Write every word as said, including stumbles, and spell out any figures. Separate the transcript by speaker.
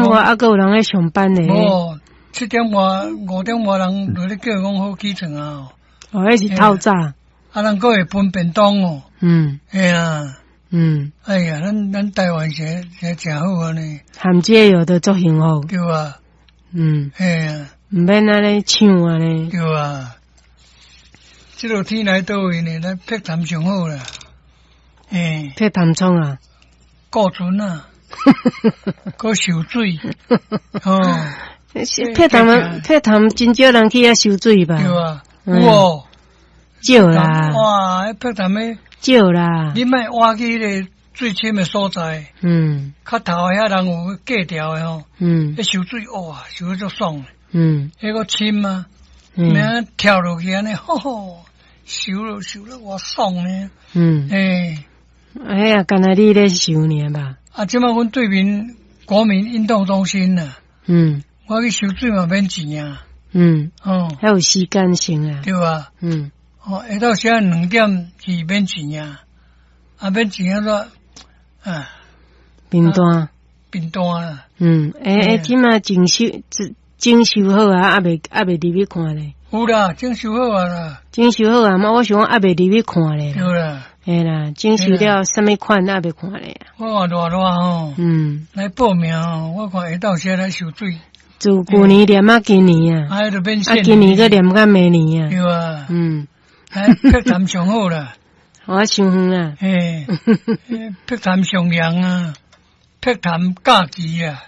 Speaker 1: 外，猶閣有人咧上班咧。
Speaker 2: 無，七點外、五點外人就咧叫講好起床啊。
Speaker 1: 哦，彼是透早。
Speaker 2: 啊，人閣會分便當哦。
Speaker 1: 嗯。
Speaker 2: 嘿啊。
Speaker 1: 嗯。
Speaker 2: 哎呀，咱咱台灣是是誠好按呢。
Speaker 1: 含這個都足幸福。
Speaker 2: 對啊。
Speaker 1: 嗯。
Speaker 2: 嘿啊。
Speaker 1: 毋免按呢搶按呢。
Speaker 2: 對啊。這落天來佗位呢？咱碧潭上好啦。嘿。
Speaker 1: 碧潭創啊？
Speaker 2: 顧船啊。閣游水。哦。
Speaker 1: 碧潭，碧潭真少人去遐游水吧？
Speaker 2: 對啊。有哦。
Speaker 1: 少啦。
Speaker 2: 哇！彼碧潭的。
Speaker 1: 少啦。
Speaker 2: 你莫挖去彼个水深的所在。
Speaker 1: 嗯。
Speaker 2: 較頭遐人有過條的吼。
Speaker 1: 嗯。
Speaker 2: 彼游水哇，游得足爽。
Speaker 1: 嗯。
Speaker 2: 彼個深啊，免跳落去按呢，吼吼，游落游落偌爽呢。
Speaker 1: 嗯。
Speaker 2: 欸。
Speaker 1: 哎呀，敢若你咧游爾吧？
Speaker 2: 啊，這擺阮對面國民運動中心啊。
Speaker 1: 嗯。
Speaker 2: 我去游水嘛免錢啊。
Speaker 1: 嗯。
Speaker 2: 哦。
Speaker 1: 還有時間性啊。
Speaker 2: 對啊。
Speaker 1: 嗯。
Speaker 2: 哦，下晝時兩點去免錢啊，啊免錢啊煞啊。
Speaker 1: 便當。
Speaker 2: 便當啊。
Speaker 1: 嗯，欸欸，這馬整修整修好啊，猶未猶未入去看咧。
Speaker 2: 有啦，整修好啊啦。
Speaker 1: 整修好啊，嘛，我想講猶未入去看咧。
Speaker 2: 對啦。
Speaker 1: 嘿啦，整修了啥物款猶未看咧。
Speaker 2: 我看熱熱吼。
Speaker 1: 嗯。
Speaker 2: 來報名吼，我看下晝時來游水。
Speaker 1: 自舊年連啊今年啊。
Speaker 2: 啊，就免
Speaker 1: 啊，今年閣連到明年啊。
Speaker 2: 對啊。
Speaker 1: 嗯。
Speaker 2: 哎，碧潭上好啦。
Speaker 1: 我傷遠啦。
Speaker 2: 嘿，碧潭上涼啊，碧潭假期啊。